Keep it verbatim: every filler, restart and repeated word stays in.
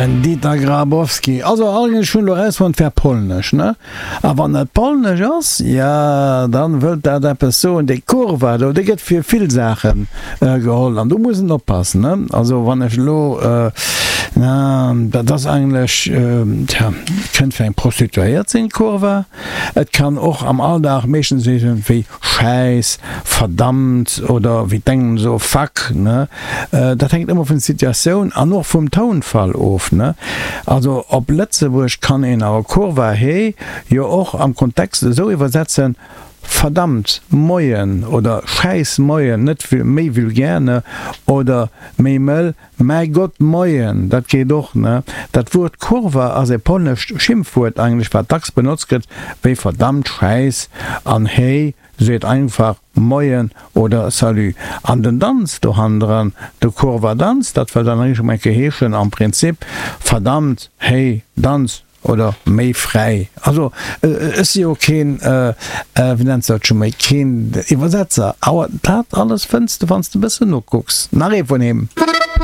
Den Dieter Grabowski. Also eigentlech hunn elo erausfonnt, wär polnesch, ne? A wann et polnesch ass, jo, dann wëllt dat eppes soen. Dee Kurwa do, dee gëtt fir vill Saache geholl an do muss en oppassen, ne? Also wann ech elo, na, dat ass eigentlech, tja, kënnt fir eng Prostituéiert sinn, Kurwa. Et kann och am Alldag meeschtens wéi Schäiss, verdammt oder wéi d'Engländer soe fuck, ne? Dat hänkt ëmmer vun der Situatioun an och vum Tounfall of, ne? Also op Lëtzebuerg kann een awer Kurwa he jo och am Kontext esou iwwersetzen, verdammt, moien oder Schäiss, moien, net méi vulgär, ne? Oder méi mëll, Mäi Gott, moien, dat geet och, ne? Dat Wuert Kurwa ass e polnescht Schimpfwuert eigentlech, wat dacks benotzt gëtt wéi verdammt, Schäiss an hey seet einfach Moien oder Salut. An den Danz dohannendran, de Kurwa-Danz, dat wëll dann eréischt emol eng Kéier heeschen am Prinzip verdammt, hey, Danz oder méi fräi. Also ech si jo keen, wéi nenns de dat scho méi, keen Iwwersetzer, awer dat alles fënns de wann s de e bëssen nokucks. Nach ee vun him.